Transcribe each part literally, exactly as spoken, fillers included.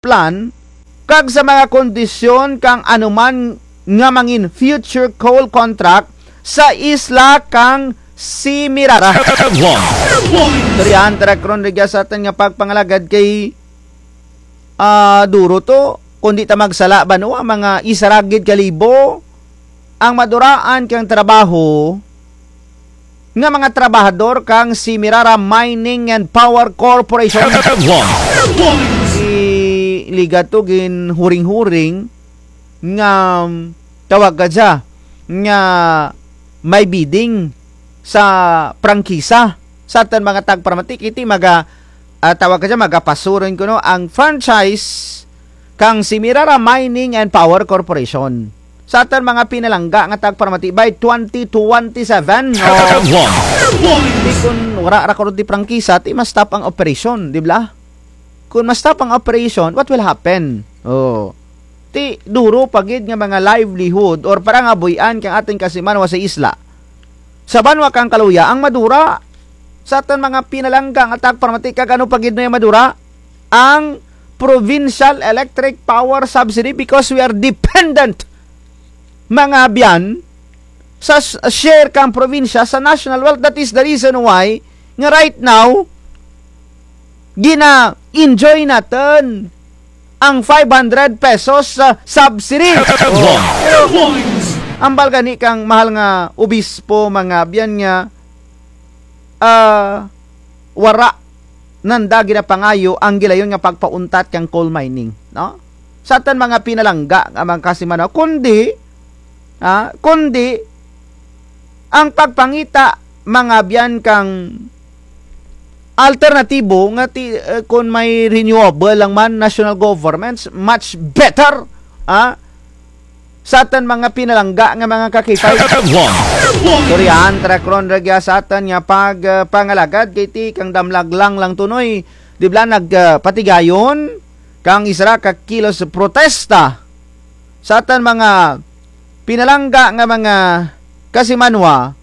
plan kag sa mga kondisyon kang anuman nga mangin future coal contract sa isla kang Semirara. Headlines. Istoryahan ta ra karon rugya sa atun nga pagpangalagad kay, ah, duro to. Kon di ta magsala banwa, mga isara gid ka libo ang maduraan kang trabaho nga mga trabahador kang Semirara Mining and Power Corporation. Iliga to ginhuring-huring nga tawag ka dya nga may bidding sa prangkisa. Sa atun mga tagparamati, kay ti maga, ah, tawag ka dya, magapaso run kuno ang franchise kang Semirara Mining and Power Corporation. Sa atun mga pinalangga nga tagparamati by twenty twenty-seven. O, di kon wara ra karon ti prangkisa, ti ma-stop ang operation, di bala? Kon ma-stop ang operation, what will happen? O. Ti duro pa gid nga mga livelihood or parangabuy-an kang atun kasimanwa sa isla. Sa banwa kang Caluya ang madura. Sa atun mga pinalangga nga tagparamati, kag ano pa gid no ang madura? Ang Provincial Electric Power Subsidy, because we are dependent, mga abyan, sa s-, share kang probinsya sa national wealth. That is the reason why nga right now, gina-enjoy natun ang five hundred pesos sa subsidy. Ambal gani kang mahal nga obispo, mga abyan, nga, ah, wara nanda ginapangayo ang gilayon nga pagpauntat kang coal mining, no? Sa atun mga pinalangga nga mga kasimanwa, kundi, ah, kundi ang pagpangita, mga abyan, kang alternatibo nga ti-, eh, kon may renewable lang man, national governments, much better, ah, sa atun mga pinalangga nga mga ka-K five. Istoryahan ta ra karon rugya sa atun nga pag, eh, pangalagad, kay ti kang damlag lang lang to, Noy. Di bala nag, eh, patigayon kang isara ka kilos protesta sa atun mga pinalangga nga mga kasimanwa,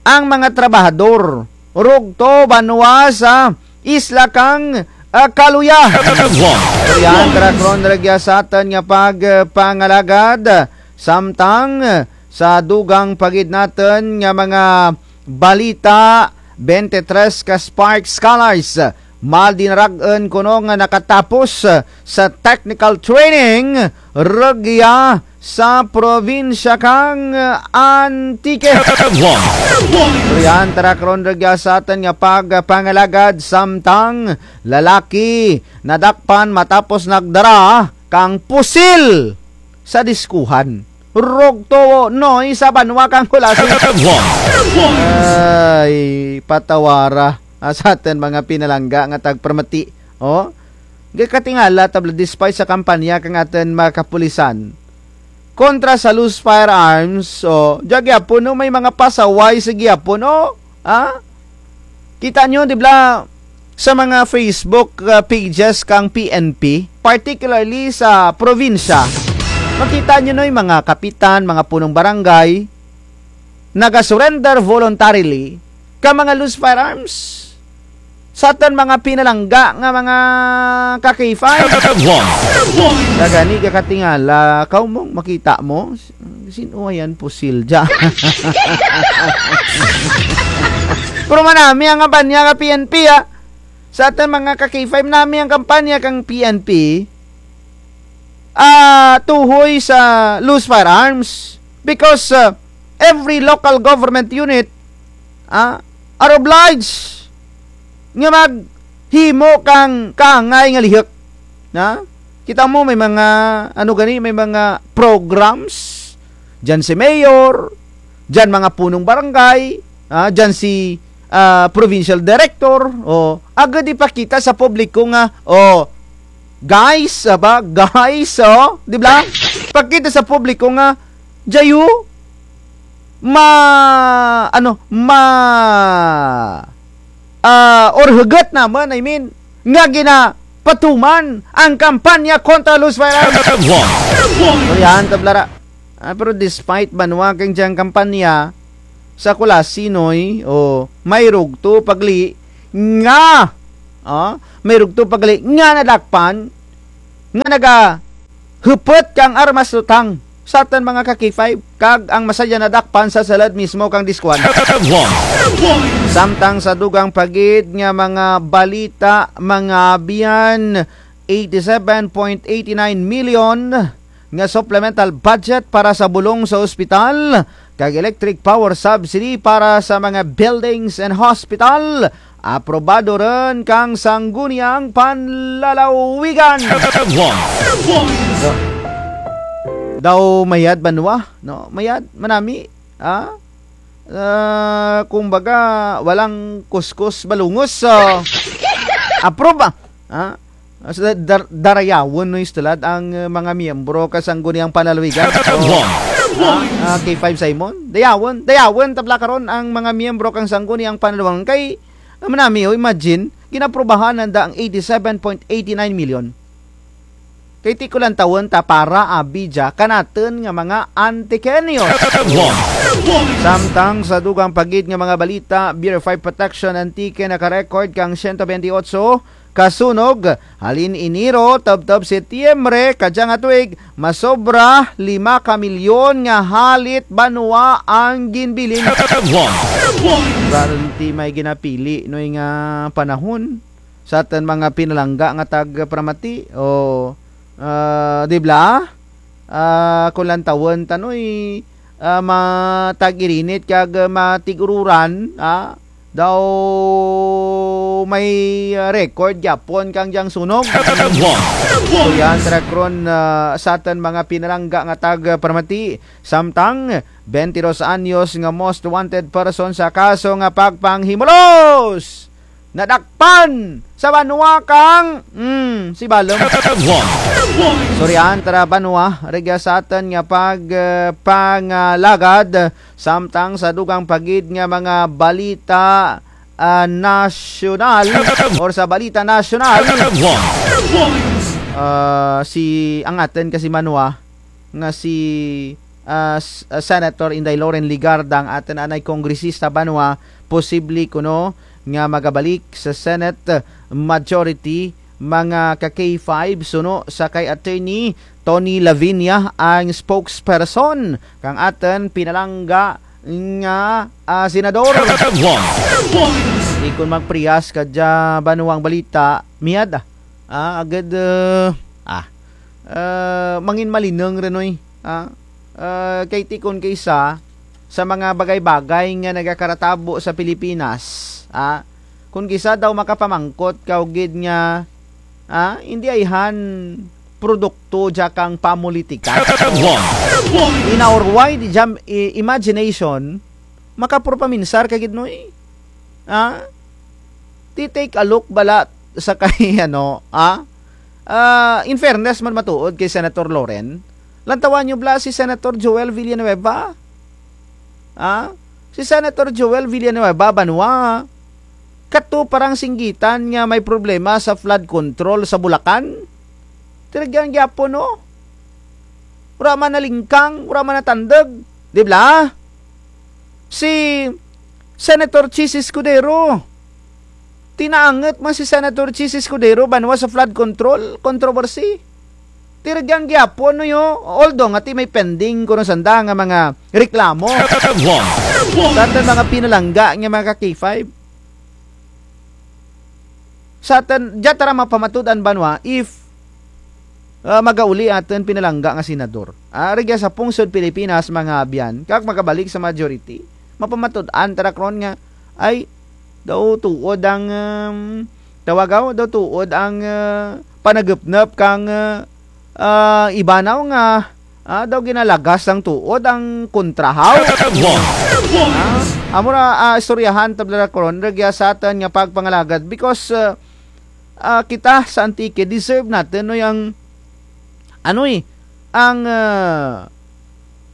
ang mga trabahador rugto banwa sa isla kang, ah, Caluya. Istoryahan ta ra karon rugya sa atun nga pag, ah, pangalagad, samtang, ah, sa dugang pa gid natun nga mga balita, twenty-three ka Spark Scholars, ah, mal dinarag-un kuno nga nakatapos, ah, sa technical training rugya sa probinsya kang Antique. Istoryahan ta ra karon rugya sa atun nga pagpangalagad, samtang lalaki nadakpan matapos nagdara kang pusil sa diskuhan. Rugto, Noy, sa banwa kang Culasi. Ay, patawara. Ah, sa atun mga pinalangga nga tagparamati. O, gakatingala ta bala, despite sa kampanya kang atun mga kapulisan kontra sa loose firearms, o, dya gihapon, no, may mga pasaway sa gihapon, o, ha? Kita nyo, di bala, sa mga Facebook, ah, pages kang P N P, particularly sa probinsya, makita nyo, no, yung mga kapitan, mga punong barangay, naga-surrender voluntarily ka mga loose firearms. Sa atun mga pinalangga nga mga ka-K five. Sa gani gakatingala, kaw mong makita mo, sin-o yan pusil dya? Pero manami ang kampanya ka P N P, ah. Sa atun mga ka-K five, manami ang kampanya kang P N P. Ah, tuhoy sa loose firearms because, ah, every local government unit, ah, are obliged nga maghimo kang kaangay nga lihuk. Na? Kita mo, may mga, ano gani, may mga programs dyan si mayor, dyan mga punong barangay, ah, dyan si, ah, provincial director, o, agud ipakita sa publiko nga, o, guys, aba, guys, o, di bala? Pakita sa publiko nga, dyayu, ma-, ano, ma-, ah, or hugot namun, I mean, nga ginapatuman ang kampanya kontra loose firearms. Istoryahan ta bala ra. Ah, pero despite banwa kang dyang kampanya sa Culasi, Noy, o, may rugto pa gali nga, ah, may rugto pa gali nga nadakpan nga nagahupot kang armas lutang sa atun mga ka-K five, kag ang masadya nadakpan sa sulud mismo kang Disquan. Samtang sa dugang pa gid nga mga balita, mga abyan, eighty-seven point eight nine million nga supplemental budget para sa bulong sa ospital, kag electric power subsidy para sa mga buildings and hospital, aprobado run kang Sangguniang Panlalawigan. Daw mayad banwa, no? Mayad, manami, ah? Ah, kumbaga, walang kuskus balungos, so, approve, ah. Ah? Sa dar-, darayawon, no, istulad ang, eh, mga miyembro ka Sangguniang Panlalawigan. So, ah, ah, K five Simon. Dayawon, dayawon, tabla karon ang mga miyembro kang Sangguniang Panlalawigan. Kay, ah, manami, o, imagine, ginaprubahan nanda ang eighty-seven point eight nine million. Kay ti ko lantawon ta para abi dya kanatun nga mga Antiqueños. Samtang sa dugang pa gid nga mga balita, Bureau of Fire Protection Antique naka-record kang siyento bente otso ka sunog, halin Enero tubtub Setyembre kadya nga tuig, masobra lima ka milyon nga halit banwa ang ginbilin. Wara run ti may ginapili, noy, nga panahon sa atun mga pinalangga nga tagparamati, o, ah, di bala? Ah, kon lantawun ta, noy, ah, matag-irinit kag matig-ururan, ah, daw may, ah, record gihapon kang dyang sunog. Istoryahan tara karon, ah, sa atun mga pinalangga nga tagparamati, samtang bente dos anyos nga most wanted person sa kaso nga pagpanghimulos nadakpan sa banwa kang, mm, Sibalom. Istoryahan tara banwa, rugya sa atun nga pag, eh, pangalagad, samtang sa dugang pa gid nga mga balita, ah, nasyonal, or sa balita nasyonal, ah, si, ang atun kasi banwa, nga si, ah, s-, ah, Senator Inday Loren Legarda, ang atun anay kongresista banwa, posible kuno nga magabalik sa Senate Majority, mga ka-K five, suno sa kay Attorney Tony Lavinia, ang spokesperson kang atun pinalangga nga, ah, senador. Di kon magparehas kadya banwa ang balita, miyad, ah. Ah, agud, eh, ah, eh, mangin malinung run, oy. Ah, eh, kay ti kon kaysa sa mga bagay-bagay nga nagakaratabo sa Pilipinas, ah, kon kaysa daw makapamangkot kaw gid nga, ah, indi ayhan produkto dya kang pamulitika. In our wide jam-, i-, imagination, makapuro paminsar ka gid, noy. Ah? Ti take a look bala sa kay, ano, ah? Ah, in fairness man matuod kay Senator Loren, lantawan nyo bala si Senator Joel Villanueva. Ah? Si Senator Joel Villanueva, banwa, kato parang singgitan nga may problema sa flood control sa Bulacan. Ti rugyan gihapon, no? Wara man nalingkang, wara man natandug. Di bala? Si Senator Chiz Escudero. Ti naangut man si Senator Chiz Escudero banwa sa flood control controversy. Ti rugyan gihapon, no, yo. Although nga ti may pending kuno sanda nga mga reklamo sa atun mga pinalangga nga mga ka-K five. Sa atun, dya tara mapamatud-an banwa if, ah, magauli atun pinalangga nga senador. Ah, rugya sa pungsod Pilipinas, mga abyan, kag magabalik sa majority, mapamatud-an tara karon nga, ay, daw tuod ang, um, tawag aw, daw tuod ang, ah, panagupnup kang, ah, ah, iba naw nga, ah, daw ginalagas ang tuod ang kontra haw. Ah, amo ra, ah, istoryahan tabla ra karon, rugya sa atun nga pagpangalagad because, ah, ah, kita sa Antique, deserve natun, no, yang, ano, eh, ang, ah,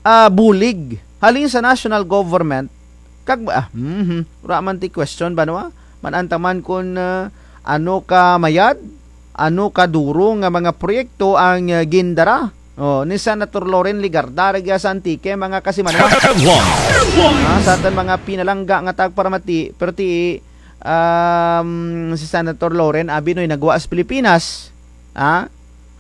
ah, bulig halin sa national government, kag, ah, mhm, wara man ti question banwa, man-an ta man kon, ah, ano ka mayad, ano ka duro nga mga proyekto ang, ah, gindara, o, ni Senator Loren Legarda rugya sa Antique, mga kasimanwa. Ah, sa atun mga pinalangga nga tagparamati, perti, um, si Senator Loren, abi, noy, naggwa sa Pilipinas, ah,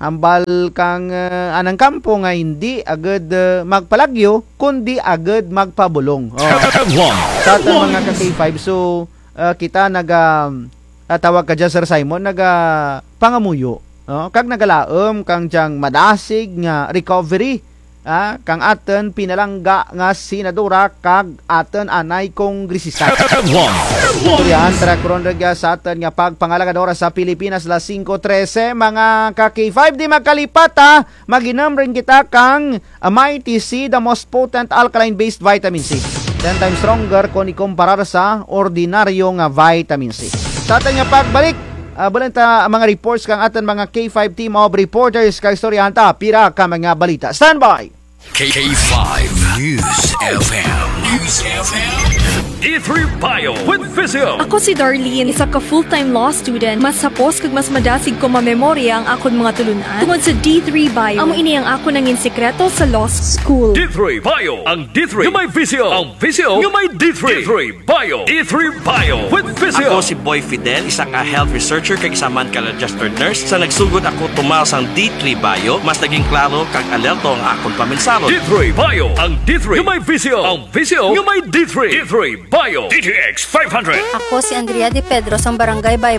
Ambal kang, eh, anang kampo nga indi agud, eh, magpalagyo, kundi agud magpabulong. Oh. Sa atun mga ka-K five, so, eh, kita naga, ah, tawag ka dyan, Sir Simon, naga pangamuyo, no? Kag nagalaum kang dyang madasig nga recovery, ah, kang atun pinalangga nga senadora kag atun anay kongresista. Istoryahan ta ra karon rugya sa atun nga pagpangalagad, oras sa Pilipinas, las singko trese, mga ka-K five, di magkalipat, ha? Mag-inum run kita kang, ah, Mighty C, the most potent alkaline-based vitamin C. Ten times stronger kon ikumparar sa ordinaryo nga vitamin C. Sa atun nga pagbalik, ah, bulan ta ang mga reports kang atun mga K five team of reporters kag istoryahan ta pira ka mga balita. Standby! K five News F M. News F M. D three Bio with Visio. Ako si Darlene, isa ka full-time law student. Mas hapos kag mas madasig ko mamemorya ang akon mga tulun-an tungod sa D three Bio. Amo ini ang akon nangin sekreto sa law school. D three Bio, ang D three nga may Visio, ang Visio nga may D three. D three Bio, D three Bio with Visio. Ako si Boy Fidel, isa ka health researcher kag isa man ka registered nurse. Sa nagsugod ako tumaw sang D three Bio, mas naging klaro kag alerto ang akon paminsaro. D three Bio, ang D three nga may Visio, ang Visio nga may D three. D three Bio, D T X five hundred. Ako si Andrea De Pedro sang Barangay Bay